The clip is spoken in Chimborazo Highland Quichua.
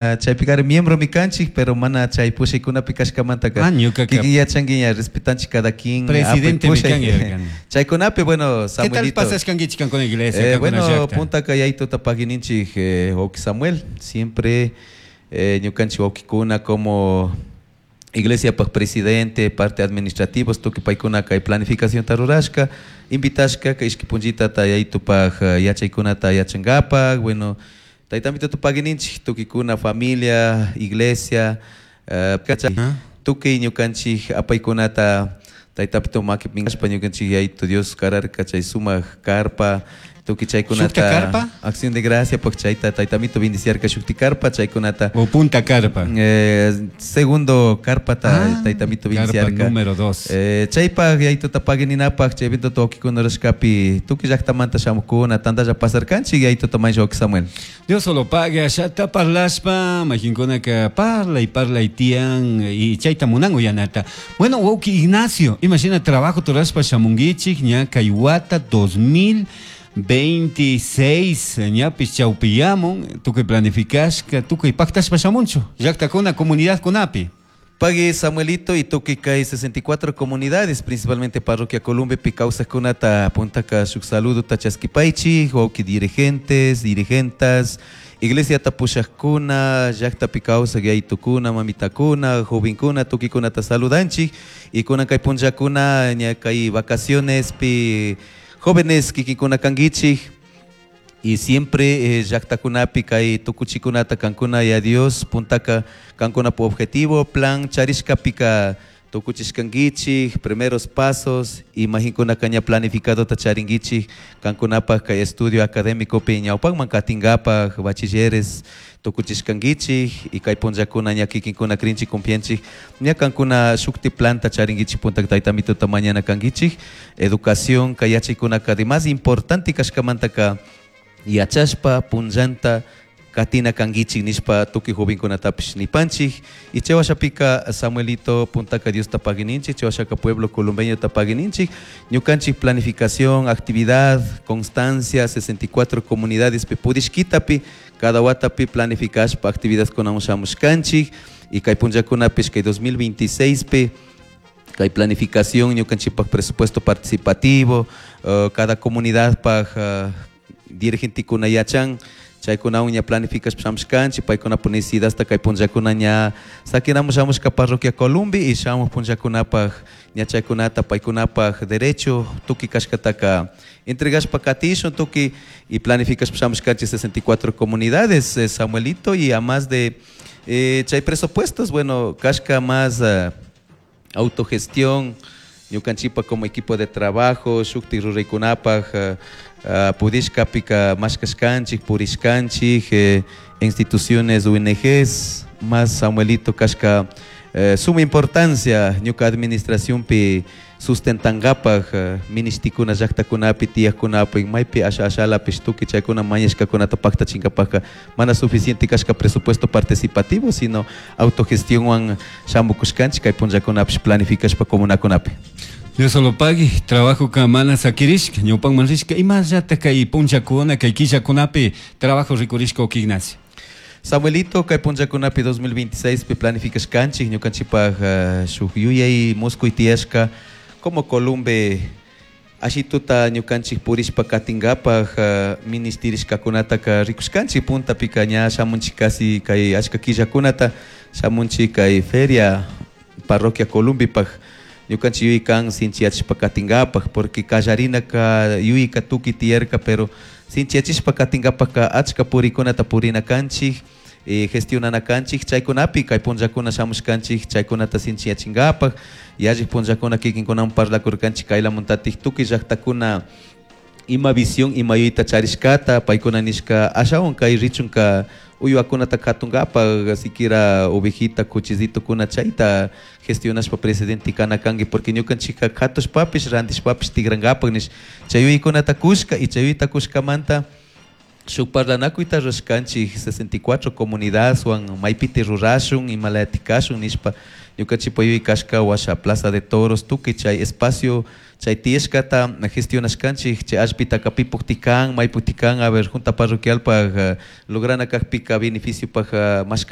Chaypika miembromi kanchik, pero mana chay pushaykunapi kashkamantaka. Ah, ñukaqa Kikin yachanki ña respetanchik cada quien. Presidente apuy pushay. mi kan yarkani. Chaykunapi, bueno, ¿Qué tal Samuelito. pasashkankichik kankuna iglesia, kankuna Bueno, llakta? puntaka yaytuta pagininchik wawki Samuel, siempre ñukanchik wawkikuna como iglesiapaj presidente, parte administrativos, tukuy paykuna kay planificacionta rurashka, invitashka kay ishki punllitata yaytupaj yachaykunata yachankapak, bueno, taytamituta pagininchik tukuykuna familia, iglesia, tukuy ñukanchik apaykunata taytapito makipi minkashpa ñukanchik yaytu Dios kararka chay sumak carpa, tukuy chaykunata ¿Shukta carpa? Acción de gracia, pues chayta taytamito bendiciarka shukti carpa, chaykunata. O punta carpa. Segundo carpata Ah, taytamito carpa bendiciarka. número 2. Chaypaj yaytuta pagininapaj, chay evento wawkikuna rurashkapi, tukuy llaktamanta shamukuna, tantalla pasarkanchik yaytuta maysha wawki Samuel. Dios solo pague, allata parlashpa, mayqinkunaka parlay, parlay tiyan, y chayta munan uyanata. Bueno, wawki Ignacio, imagina trabajo turashpa shamunkichik, ña kay wata 2026, ñapis chawpiyamun, tukuy planificashka, tukuy paktashpa shamunchu, llaktakuna, comunidadkunapi. Pagui Samuelito y tukuy kay 64 comunidades, principalmente parroquia Columbe, kawsajkunata puntaka shuk saludo chaskipaychik, wawki dirigentes, dirigentas, iglesia tapushajkuna, llaktapi kawsaj yaytukuna, mamitakuna, jovenkuna, tukuykunata saludanchik, y kunan kay punllakuna, ña kay vacaciones pi jóvenes kikinkuna kankichik, y siempre llaktakunapi kay tukuchikunata kankuna ya Dios puntaka kankuna pu objetivo, plan charishkapika tukuchishkankichik, primeros pasos, imaginkunaka ña planificadota charinkichik kankunapaj kay estudio académicopi ñawpakman katinkapak bachilleres tukuchishkankichik, y kay punllakuna ña kikinkuna krinchik confianchik ña kankuna shukti planta charinkichik puntaka taytamituta mañana kankichik, educación kay yachaykunaka de más importante kashkamantaka yachashpa punllanta katina kankichik nishpa tukuy jovenkunatapish nipanchik. Y chay washapika Samuelito puntaka Diosta pagininchik, chay washaka pueblo columbeñota pagininchik, ñukanchik planificación, actividad, constancia, 64 comunidades pi purishkitapi, cada watapi planificashpa actividadkunawan shamushkanchik, y kay punllakunapish kay 2026 pi kay planificación ñukanchikpak presupuesto participativo, cada comunidad paj dirigentekuna yachan, chaykunawan ña planificashpa shamushkanchik, paykunapuk necesidadta kay punllakuna ña sakinamun shamushka parroquia Columbi y shamuj punllakunapaj ña chaykunata paykunapaj derecho tukuy kashkataka entregashpa katishun tukuy y planificashpa shamushkanchik 64 comunidades, Samuelito, y a más de chay presupuestos, bueno, kashka más autogestión, ñukanchikpa como equipo de trabajo, shuktik ruraykunapaj pudishkapika mashkashkanchik, purishkanchik, instituciones O N Gs, más Samuelito kashka suma importancia ñuka administracionpi sustentankapak ministikuna llaktakunapi, tiyakkunapi, maypi asha ashalapish tukuy chaykuna mañashkakunata paktachinkapakka mana suficiente kashka presupuesto participativo, sino autogestionwan shamukushkanchik kay punllakunapish planificashpa comunakunapi. Dios solo pague, trabajo ka mana sakirishka, ñawpanman rishka, imallata kay punllakuna, kay killakunapi trabajo rikurishka wawki Ignacio. Samuelito, kay punllakunapi 2026 pi planificashkanchik, ñukanchikpaj shuk yuyay muskuy tiyashka, como Columbe ashituta ñukanchik purishpa katinkapaj ministirishkakunataka rikushkanchik, puntapika ña shamunchik casi kay achka killakunata shamunchik kay feria parroquia Columbipaj ñukanchik yuyay kan sinchiyachishpa katinkapaj, porque kallarinaka yuyayka tukuy tiyarka, pero sinchiyachishpa katinkapajka achka purikunata purina kanchik, gestionana kanchik, chaykunapi kay punllakuna shamushkanchik, chaykunata sinchiyachinkapaj, yallik punllakuna kikinkunawan parlakurkanchik kaylamuntatik tukuy llaktakuna ima visión, ima yuyayta charishkata, paykuna nishka ashawan kay richunka uywakunata katunkapaj, siquiera ovejita, cuchizitokuna chayta gestionashpa presidente kana kanki, porque ñukanchikka katushpapish, rantishpapish tigrankapaj nish, chay yuyaykunata kushka, y chay yuyayta kushkamanta shuk parlanakuyta rurashkanchik 64 comunidadwan maypiti rurashun, imalayatikashun nishpa ñukanchikpa yuyay kashka washa Plaza de Toros tukuy chay espacio Chay tiyashkata gestionashkanchik, chay allpitaka pipukti kan, maypukti kan, a ver, junta parroquialpaj lograna kakpika beneficiopaj mashkan.